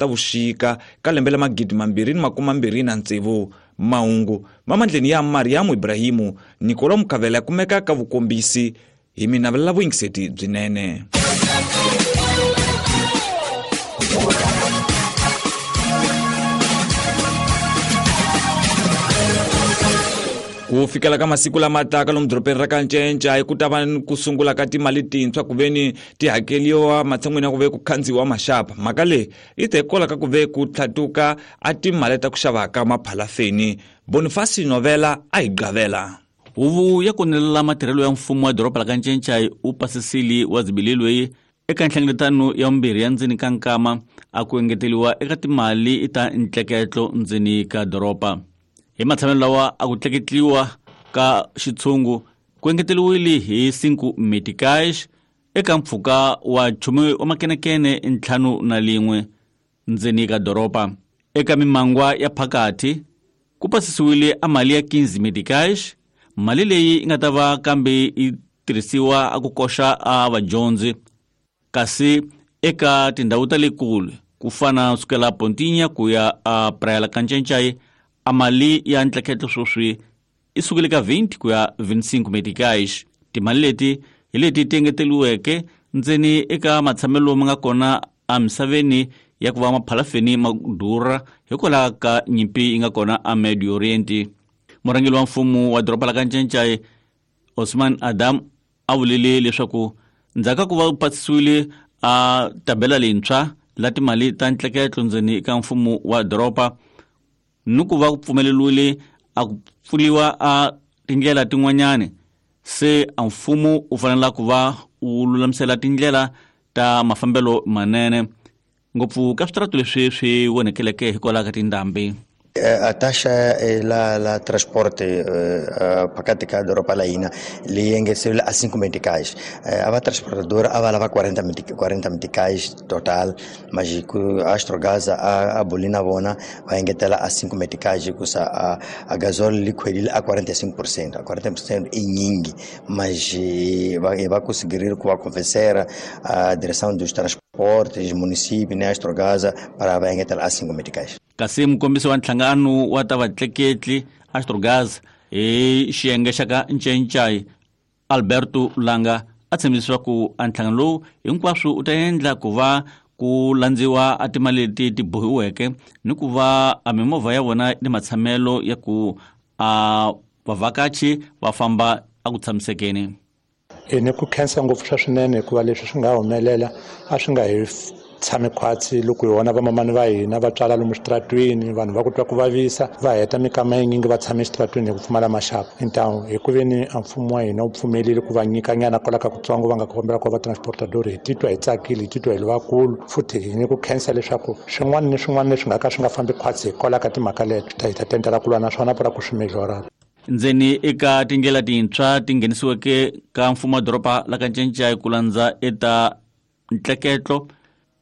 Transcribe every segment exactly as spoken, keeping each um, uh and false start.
Khotavuxika ka lembe la magidi mambirhi ni makume mbirhi na tsevu. Mahungu mamandleni ya Mariamu Ibrahimu Nikolo Mukavela kumeka ka vukombisi hi mina vula vuyingiseti byinene. Ku fikela ka masiku lama taka lomu dorobeni ra ka Ncencai ku ta va ku sungula ka timali tintshwa ku veni ti hakeliwa matshan'wini ya ku ve ku khandziwa maxapa. Mhaka leyi yi ta hikwalaho ka ku ve ku tlhatuka a timali ta ku xava ka maphalafeni. Boniface Novela a hi gavela. Huvo ya konelela matirhelo ya mfumo wa doroba la ka Ncencai u pasisile wa zibilelwe eka nhlengeletano ya vumbirhi ya ndzeni ka nkama a ku engeteliwa eka timali ta ntleketlo ndzeni ka doroba. Hi matshamelo lawa a ku tleketliwa ka xitshungu ku engeteliwile hi cinco meticais eka mpfhuka wa nchumu wa makenekene ntlhanu na lin'we ndzeni ka doroba. Eka mimangwa ya phakathi ku pasisiwile a mali ya quinze meticais, mali leyi yi nga ta va kambe yi tirhisiwa a ku koxa a vadyondzi. Kasi eka tindhawu ta le kule ku fana sukela Pontinha ku ya a Praia la ka Ncencai, a mali ya ntleketlo sweswi i sukile ka vinte ku ya vinte e cinco meticais. Timali leti hi leti ti engeteliweke ndzeni eka matshamelo ma nga kona emisaveni ya ku va maphalafeni ma durha hikwalaho ka nyimpi yi nga kona a Medio Oriente. Murhangeri wa mfumo wa doroba la ka Ncencai Osman Adam a vulile leswaku ndzhaku ka ku va pasisiwile a tabela leyintshwa la timali ta ntleketlo ndzeni ka mfumo wa doroba ni ku va ku pfumeleriwile a ku pfuriwa a tindlela tin'wanyani, se a mfumo u fanele ku va u lulamisela tindlela ta mafambelo manene ngopfu ka switaratu leswi swi vonekeleke hikwalaho ka tindhambi. A taxa la la transporte phakathi ka doroba la hina leyi engeteriwile a cinco meticais. A va transportadora a va lava quarenta quarenta meticais total, mas ku Astrogás a a boli na vona va engetela a cinco meticais hikusa a a gasol li khwelile a quarenta e cinco por cento. A quarenta por cento i nyingi, mas va va conseguir ku va convencer a direção dos transportes município né Astrogás para va engetela a cinco meticais. Kasi mukombisi wa nhlangano wa ta vatleketli Astrogás hi xiyenge xa ka Ncencai Alberto Langa a tshembisa ku a nhlangano lowu hinkwaswo u ta endla ku va ku landziwa a timali leti ti bohiweke ni ku va a mimovha ya vona ni matshamelo ya ku a vavhakachi va famba a ku tshamisekeni. E ni ku khensa ngopfu swa swinene hikuva leswi swi nga humelela a swi nga hi tshami khwatsi loko hi vona vamamani va hina va tswala lomu xitaratwini, vanhu va ku twa ku vavisa va heta mikama yinyingi va tshame exitaratwini hi ku pfumala maxapu. Hintawu hi ku veni a mfumo wa hina wu pfumelile ku va nyika nyana kwala ka kutsongo va nga kombela ku va transportador, hi titwa hi tsakile, hi titwa hi ri vakulu futhi hi ni ku khensa leswaku swin'wana ni swin'wana leswi nga ka swi nga fambi khwatsi hikwalaho ka timhaka leto hi ta tendela ku lwa na swona para ku swi mejora. Ndzeni eka tindlela tintshwa ti nghenisiweke ka mfumo wa doroba la ka Ncencai ku landza eta ntleketlo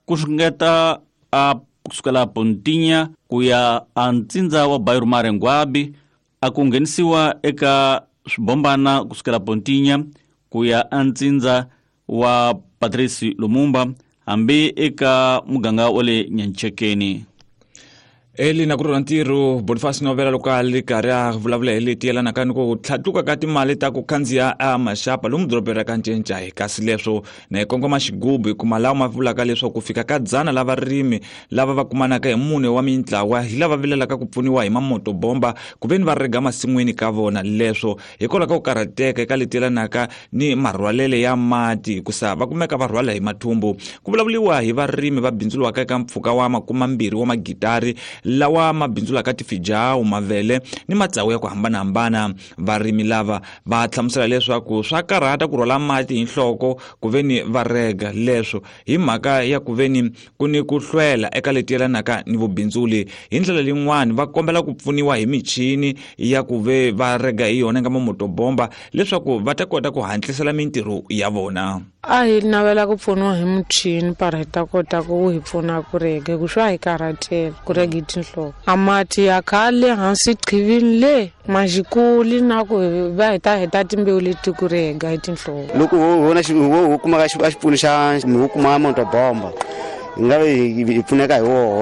ku xungeta a kusukela Pontinha ku ya a ntsindza wa Bairro Marenguabi, a ku nghenisiwa eka swibombana kusukela Pontinha ku ya a ntsindza wa Patrice Lumumba hambi eka muganga wa le Nyanchekeni. Eli na ku rhula ntirho Boniface Novela loko a ri karhi a vulavula hi leti yelanaka ni ku tlhatuka ka timali ta ku khandziya a maxapa lomu dorobeni ra ka Ncencai. Kasi leswo na hi kongoma xigubu hi kuma lawa ma vulaka leswaku ku fika ka dzana la varimi lava va kumanaka hi mune wa mintlawa hi lava vilelaka ku pfuniwa hi mamotobomba ku veni va rega masin'wini ka vona. Leswo hikwalaho ka ku karhateka eka leti yelanaka ni marhwalele ya mati hikusa va kumeka va rhwala hi mathumbu. Ku vulavuriwa hi varimi va bindzuriwaka eka mpfhuka wa makumambirhi wa magitari lawa mabindzulaka tifijawu, mavele ni matsawu ya ku hambanahambana. Varimi lava va hlamusela leswaku swa karhata ku rhwala mati hi nhloko ku veni va rega, leswo hi mhaka ya ku veni ku ni ku hlwela eka leti yelanaka ni vubindzuli. Hi ndlela leyin'wani va kombela ku pfuniwa hi michini ya ku ve va rega hi yona nga mamotobomba leswaku va ta kota ku hatlisela mintirho ya vona. A hi navela ku pfuniwa hi muchini para hi ta kota ku hi pfuna ku rega, ku swa hi karhatela ku rega hi tinhloko. A mati ya khale hansi qhivini le majikuli na ku va hi ta heta timbewu leti ku rega hi tinhloko. Loko ho vona ho kuma ka xipfuno xa ho kuma motobomba hi nga hi pfuneka hi woho.